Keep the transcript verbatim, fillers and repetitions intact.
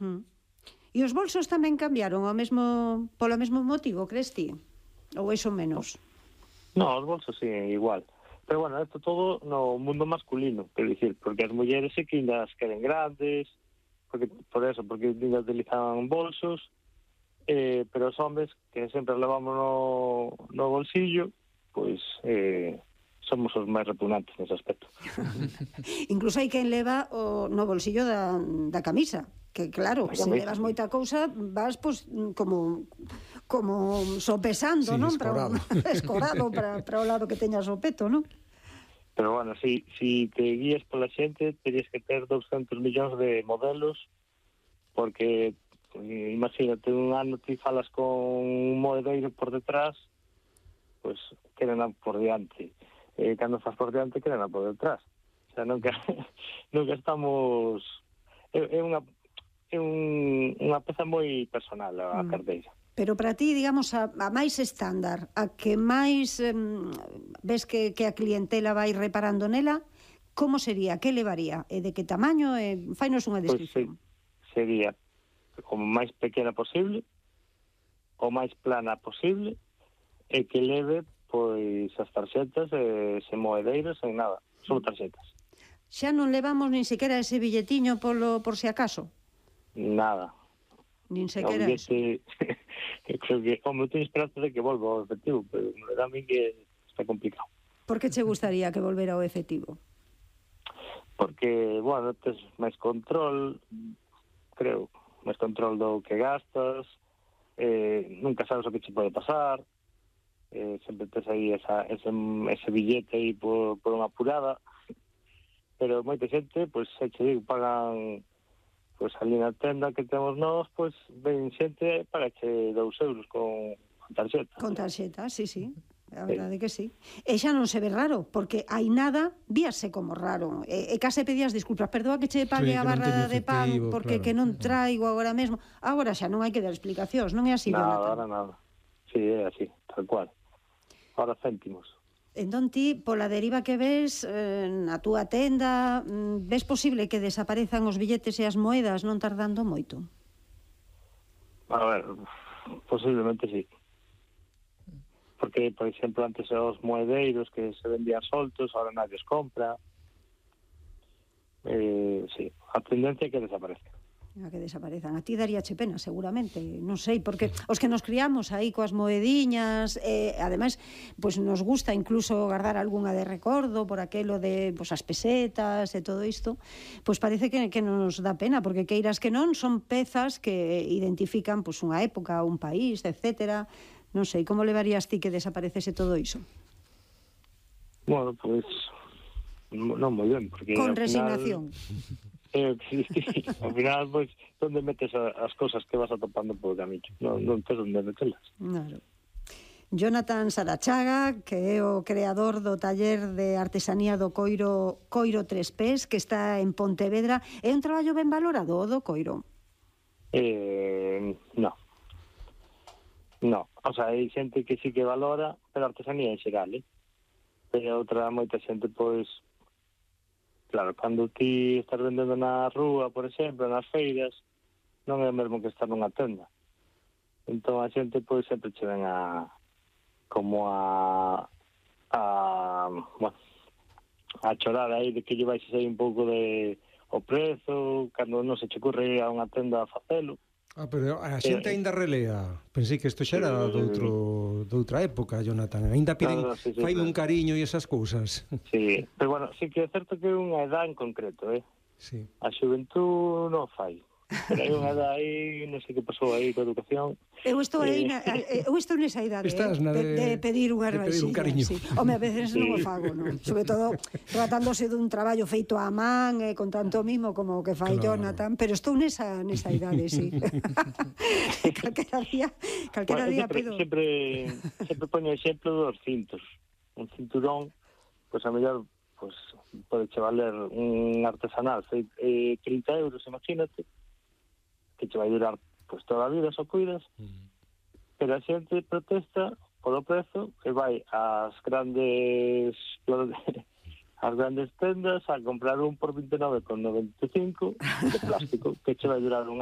Mm. E os bolsos tamén cambiaron ao mesmo polo mesmo motivo, crees ti? Ou iso menos? No, os bolsos sí, igual. Pero bueno, esto todo no mundo masculino, quero dicir, porque as mulleres sí que ainda as queren grandes, porque por eso, porque ainda utilizan bolsos, eh, pero os hombres, que sempre levamos no, no bolsillo, pois eh, somos os máis repugnantes nese aspecto. Incluso hai quen leva o, no bolsillo da, da camisa, que claro, se levas moita cousa vas pues, como como sopesando, sí, non? escorado. Para, escorado para, para o lado que teñas o peto, non? Pero bueno, si, si te guías pola xente, terías que ter doscientos millóns de modelos, porque imagínate, un ano ti falas con un moedeiro por detrás, pois pues, queren por diante. Eh, cando faz por diante, queren por detrás. O sea, nunca, nunca estamos... É, é unha é un, unha peza moi personal a mm. carteira. Pero para ti, digamos, a, a máis estándar, a que máis eh, ves que, que a clientela vai reparando nela, como sería? Que levaría? E de que tamaño? E fainos unha descripción. Pues, sería como máis pequena posible, o máis plana posible, e que leve pois as tarxetas e se moedeiros en nada, só tarxetas. Xa non levamos nin sequera ese billetiño polo, por si acaso? Nada. Nin sequera eso. Creo que, como teño esperanza de que volva ao efectivo, pero me dá a mí que está complicado. Por que che gustaría que volvera ao efectivo? Porque, bueno, tes máis control, creo, máis control do que gastas, eh, nunca sabes o que che pode pasar, eh, sempre tes aí esa, ese, ese billete aí por, por unha apurada, pero moita xente, pois, se che digo, pagan... Pois ali na tenda que temos nós, pois ven xente para che dous euros con, con tarxeta. Con tarxeta, sí, sí. A verdade sí. Que sí. E xa non se ve raro, porque hai nada, víase como raro. E, e case pedías disculpas, perdoa que che pague sí, a barra de pan, porque claro, que non traigo agora mesmo. Agora xa non hai que dar explicacións, non é así, nada, Jonathan? Nada, nada. Sí, é así, tal cual. Ahora céntimos. Entón ti, pola deriva que ves eh, na túa tenda, ves posible que desaparezan os billetes e as moedas non tardando moito? A ver, posiblemente sí. Porque, por exemplo, antes os moedeiros que se vendían soltos, ahora nadie os compra. Eh, sí, a tendencia é que desaparezca. A que desaparezan. A ti daríache pena, seguramente, non sei, porque os que nos criamos aí coas moediñas, eh, ademais, pois nos gusta incluso guardar algunha de recordo por aquelo de pois, as pesetas e todo isto, pois parece que, que nos dá pena, porque queiras que non, son pezas que identifican pois, unha época, un país, etcétera. Non sei, como levarías ti que desaparecese todo iso? Bueno, pois, non moi ben, porque... Con resignación. Final... Eh, sí, sí. Al final, pois, pues, onde metes a, as cosas que vas atopando por o camiño? Non, non tens onde metelas. Claro. Jonathan Sarachaga, que é o creador do taller de artesanía do coiro Coiro Tres Pés, que está en Pontevedra. É un traballo ben valorado, o do coiro? Eh, no. No. O sea, hai xente que sí que valora, pero artesanía en xeral, eh? Pero outra moita xente, pois... Claro, cando ti estás vendendo na rúa, por exemplo, nas feiras, non é o mesmo que estar nunha tenda. Entón a xente pois sempre che ven a como a a bueno, a chorar aí de que lle vais a sair un pouco de o prezo, cando non se che ocurre a unha tenda a facelo. Ah, pero a xente eh, ainda relea. Pensei que isto xa era eh, doutro, doutra época, Jonathan. Ainda piden no, no, sí, sí, faime claro. Un cariño e esas cousas. Sí, pero bueno, sí que é certo que é unha edad en concreto, eh? Sí. A xuventud non fai. Pero hai unha edad aí, non sei que pasou aí coa educación. Eu estou aí, na, eu estou nesa idade, Estás eh, na de, de pedir unha rebaixilla. Sí. Home, a veces sí. Non o fago, non? Sobre todo tratándose dun traballo feito á man, eh, con tanto mimo como o que fai claro. Jonathan, pero estou nesa, nesa idade, sí. calquera día, calquera bueno, día sempre, pido... Sempre, sempre poño exemplo dos cintos. Un cinturón, pois pues, a mellor, pois, pues, pode che valer un artesanal feito eh, trinta euros, imagínate, que te vai durar pues, toda a vida, só cuidas, mm. pero a xente protesta polo prezo e vai ás grandes ás grandes tendas a comprar un por vinte e nove con noventa e cinco de plástico que che vai durar un